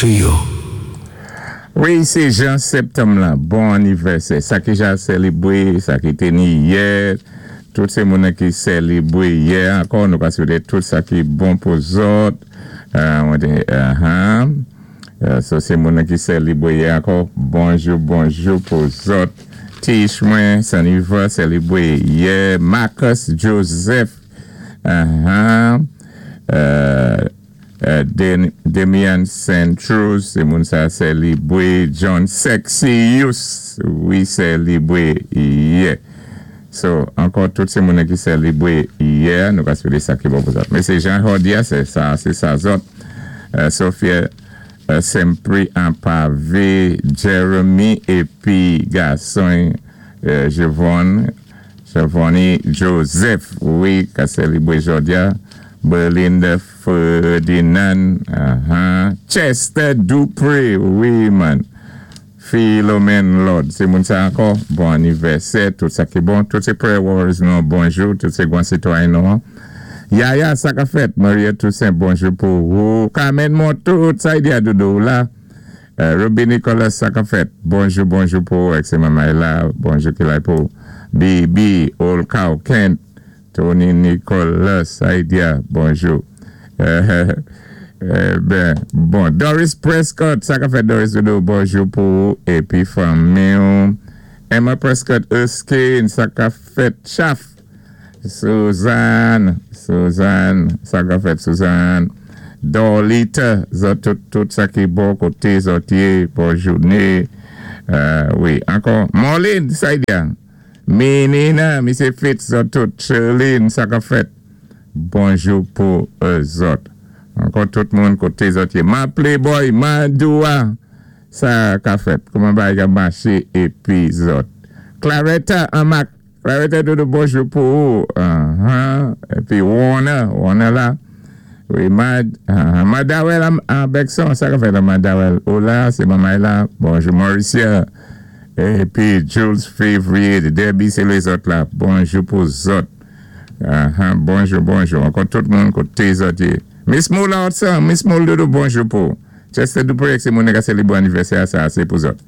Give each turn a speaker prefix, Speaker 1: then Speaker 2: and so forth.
Speaker 1: To you.
Speaker 2: Wi, sé jan septanm la, bon anivèsè. Sa ki ja sélibwé, sa ki té ni yè, tout sé moun ki sélibwé yè ankò, nou ka swété tout sa ki bon pou zòt. Mwen té, so sé moun ki sélibwé yè ankò, bonjou bonjou pou zòt. Tish mwen, Saniva sélibwé yè, Marcus Joseph, Demian Saint Rose, sé moun sa sélibwé, John Sexius, wi, sélibwé yè. So, ankò tout sé moun ki sélibwé yè, nou ka swété sa ki bon pou zòt. Men sé Jean Hordia, sé sa zòt. Sophia Sempri Ampavé, Jeremy épi gason Jevon, Jevoni Joseph, wi, ka sélibwé jòdi-a, Belinda Ferdinand, Chester Dupré, wi man, Philomène Lord, sé moun sa ankò, bon anivèsè, tout sa ki bon, tout sé prayer warriors nou, bonjou, tout sé gwan sitwayen nou. Yaya, sa ka fèt, Maria Toussaint, bonjou pou ou, Carmen Montout, sa y di a doudou la, Ruby Nicolas, sa ka fèt, bonjou, bonjou pou ou, ek sé mamay la, bonjou ki lay pou Bibi, Olkaw, Kent, Tony Nicolas, sa y di a, bonjou. Ben, bon, Doris Prescott, sa ka fèt, Doris doudou, bonjou pou ou, épi fanmi ou. Emma Prescott Erskine, sa ka fèt, Chaf, Suzanne, Suzanne, sa ka fèt, Suzanne. Dorlita, zòt tout, tout sa ki bon koté zòt yé, bon jouné. Wi, ankò, Marlene, sa y di a? Menina, Misé Fitz, zòt tout, Sherline, sa ka fèt? Bonjou pou zòt. Ankò tout moun koté zòt yé. Ma Playboy, Madoua, sa ka fèt? Kouman bagay ka maché épi zòt? Claretta Amac, Claretta doudou bonjou pou ou. Épi Warner, Warner la. Wi, Mad, Madawel a Bekson, sa ka fèt la Madawel? Ou la, sé mamay la. Bonjou Mauricia. Épi Jules Février, Debbie sé lézòt la. Bonjou pou zòt. Bonjou, bonjou. Ankò tout moun koté zòt yé. Miss Moula Hudson, Miss Moula doudou, bonjou pou ou. Chester Dupré, sé moun ka sélibwé anivèsè sa, sé pou zòt.